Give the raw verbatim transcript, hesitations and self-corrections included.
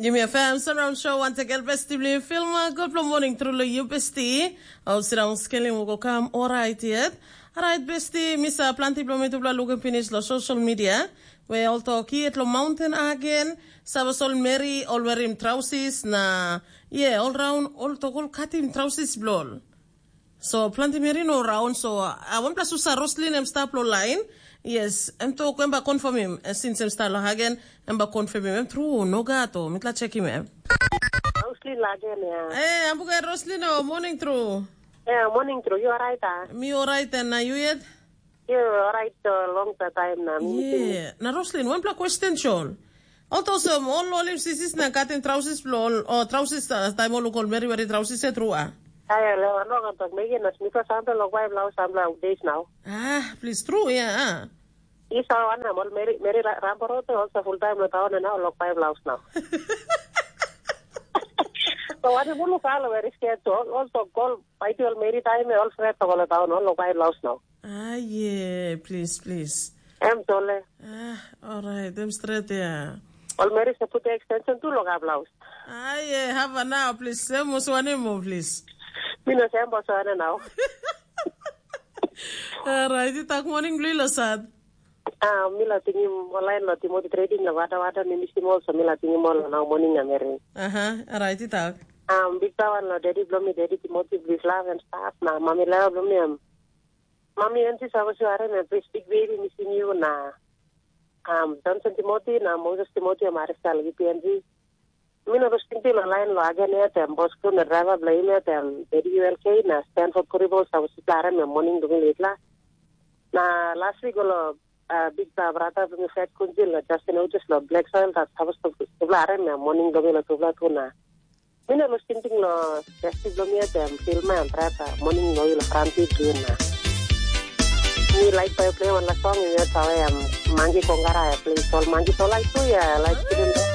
Yumi FM Sunround Show wantakel besti bilong Filma. Gutpela morning tru long yu besti. Au sira ong skelim u go kam orait yet. Orait besti, misa planti bilong mi tupela lukim pinis long social media. We ol tok yet long mountain agen, sabas ol meri ol werim trausis na ye ol raun ol tok ol katim trausis bilong ol. So planti meri no raun, so uh, wanpela susa Roslin em stap lo lain. Yes, em tok em ba confirmim, eh, since em stap lo hagen, em ba confirmim em tru, no gato, mitla chekim em. Roslin lagen ya. Eh, ambuka Roslin, oh, morning tru. Yeah, morning tru. You alright ah? Mi alright, and na you yet? You alright uh, long time na. Mi missing you. Yeah. Na Roslin, wanpela question shol. Ol tok olsem, ol olim sisis na katim trausis bilong ol, o trausis uh, taim ol luk ol meri weri trausis e tru a? Ai, lo ano kan tak megi na smita sampe lok bai blau sampe updates now. Ah, please true, yeah. Isa wan na mol meri meri rambo rote also full time lo taon na lok bai blau now. So what you look all very scared to also call bai ti ol meri time ol fret to lo taon lok bai blau now. Ah, yeah, please, please. Em tole. Ah, alright, em straight ya. Ol meri se put extension tu lo ga blau. Ah, yeah, have a now, please. Sem mo suani mo, please. Mi no sem bo suani now. Alright, you talk morning blue lo sad. Ah, mi la tingim online lo Timothy Trading lo wada wada mi misim ol so mi la tingim ol now morning na meri. Aha, alright, you talk. Um, big power lo daddy blo mi daddy Timothy big love and stuff na mami love blo mi am. Mami and sis, I was your and please big baby missing you na. Um, Johnson Timothy na Moses Timothy am arista lagi P N G. Mi no bes tingting lo lain lo agen ya tem bos kru na driver blo im ya tem daddy U L K na Stanford Kuribos, I was klare me morning dumi litla. Na last week lo uh, big ba brata bumi fat kunjil na Justin Otis lo Black Soil that I was klare me morning dumi lo tubla tu na. Mi no bes tingting lo besti blo mi ya tem filma and brata morning lo ilo kranti tu na. Mi like by play one la song in your tawa ya mangi kongara ya play sol mangi sol like tu ya like tu.